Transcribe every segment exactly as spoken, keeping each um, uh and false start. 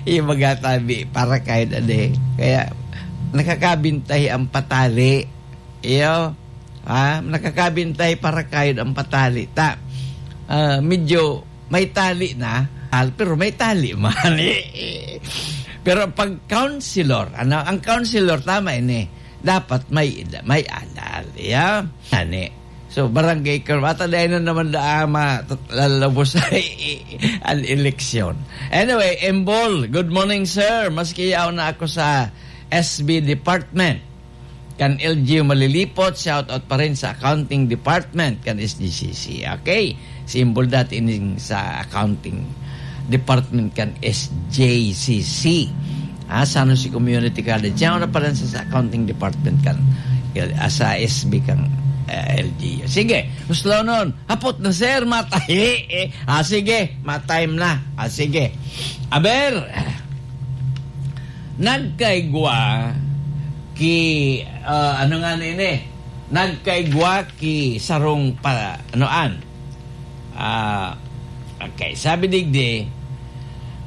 Yung mga tabi, para kayo na di. Kaya, nakakabintahi ang patali. Iyo, ha? Nakakabintahi para kayo ang patali. Ta, ah, medyo may tali na, al-, pero may tali man. Pero pag counselor, ano, ang counselor, tama ini, dapat may ida-, may alal. Iyo? Ani. So, barangay ka, mata dahil na naman da ama, lalabos ay ang eleksyon. Anyway, Embol, good morning, sir. Maski yaw na ako sa S B department. Kan L G U Malilipot, shout out pa rin sa accounting department kan S G C C. Okay? Si Embol dati ining sa accounting department kan S J C C. Ah, San Jose Community College. Siya na pala sa, sa accounting department kan, ah, sa S B kan, ah, L G U. Sige, gusto nun. Hapot na, sir, matahi. Eh, ah, sige, matime na. Ah, sige. Aber, nagkaigwa ki, ah, ano nga nini? Nagkaigwa ki sarong pa, ano an? Ah, okay. Sabi digdi,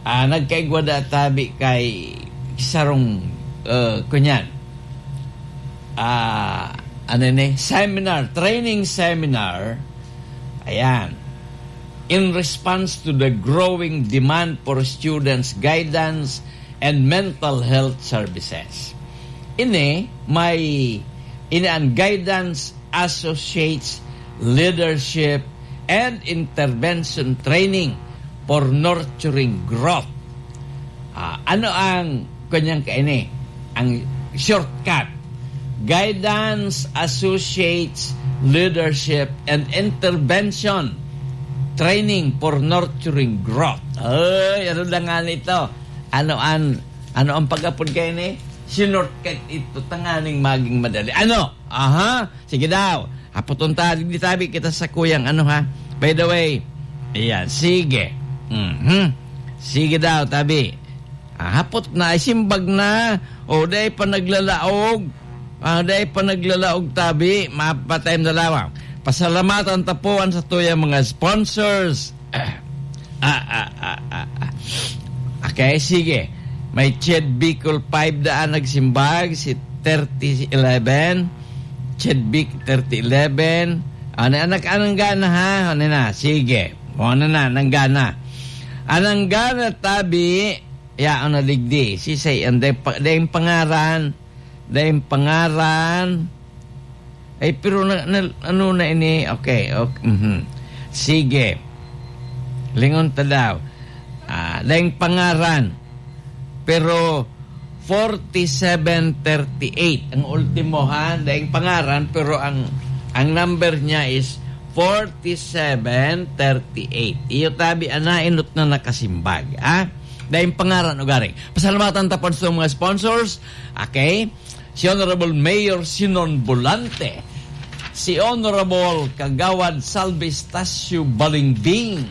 ah, nagkaigwa da tabi kay sarong, ah, kunyan. Ah, ano ni? Seminar, training seminar. Ayan. In response to the growing demand for students' guidance and mental health services. Ini, may, ini ang Guidance Associates Leadership and Intervention Training for Nurturing Growth. Ah, ano ang kanyang kaini? Ang shortcut, Guidance Associates Leadership and Intervention Training for Nurturing Growth. Ay, ano na nga nito? Ano an-, ano ang pag-apod kaini? Sinortcut ito, tanganing maging madali. Ano? Aha, sige daw. Hapoton ta, di tabi kita sa kuyang ano, ha. By the way, ayan, sige. Mhm. Sige daw, tabi. Ah, hapot na, ay simbag na. O, dai pa naglalaog. Ah, dai pa naglalaog, tabi. Mapatay na lamang. Pasalamatan ta po ang sa tuyang mga sponsors. Ah, ah, ah, ah, ah. Okay, sige. May Ched Bicol five daan nagsimbag, si thirty eleven. Ched Bic thirty eleven. Ano, anak, anong gana, ha? Ano na? Sige. O, ano na? Anong gana? Anong gana, tabi? Ya, ano, digdi? Si say, ang day pa-, day pangaran. Daing pangaran. Ay, pero na, na, ano na ini? Okay, okay. Mhm. Sige. Lingon ta daw. Ah, daing pangaran. Pero forty-seven thirty-eight. Ang ultimo, ha? Daing pangaran, pero ang, ang number niya is forty-seven thirty-eight. Iyo tabi, anainot na nakasimbag, ha? Daing pangaran, ugaring. Pasalamatan ta po sa mga sponsors. Okay? Si Honorable Mayor Sinon Volante, si Honorable Kagawad Salvi Stacio Balingbing,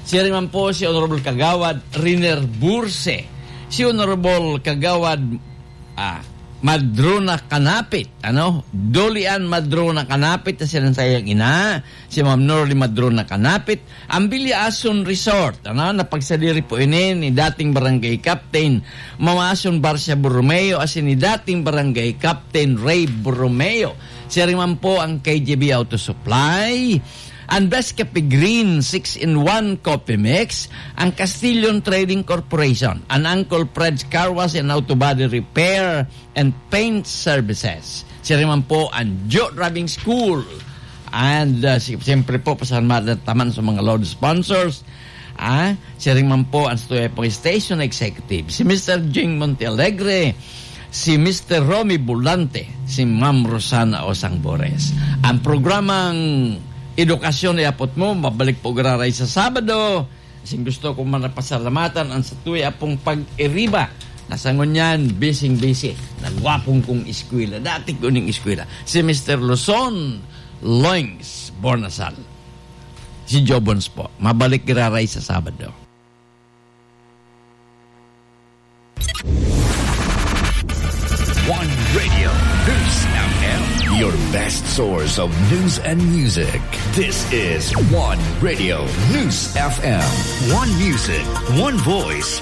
siya rin man po si Honorable Kagawad Riner Burse, si Honorable Kagawad, ah, Madrona Kanapit, ano? Dolian Madrona Kanapit, na siya rin sa iyang ina, si Ma'am Norly Madrona Kanapit, ang Bilyason Resort, ano, napagsadiri po ini ni dating Barangay Captain Mamason Barcia Borromeo asin ni dating Barangay Captain Ray Borromeo. Siya rin man po ang K G B Auto Supply, ang Best Cafe Green six-in-one Coffee Mix, ang Castillion Trading Corporation, ang Uncle Fred's Car Wash and Auto Body Repair, and Paint Services. Siya rin man po ang Joe Driving School. And, uh, si-, siyempre po, pasalamat taman sa mga load sponsors. Ah, siya rin man po ang Stuya po Station Executive. Si Mister Jing Montealegre, si Mister Romy Bulante, si Ma'am Rosana Osang Bores. Ang programang Edukasyon Iapot Mo, mabalik po giraray sa Sabado. Sing gusto ko man napasalamatan ang satuya pong pag-iriba. Nasangon niyan, bising-bisi. Nagwapong kong eskwela. Dati ko ning eskwela. Si Mister Luzon Loings Bornasal. Si Jobons po. Mabalik giraray sa Sabado. One Radio News F M, your best source of news and music. This is One Radio News F M. One music, one voice,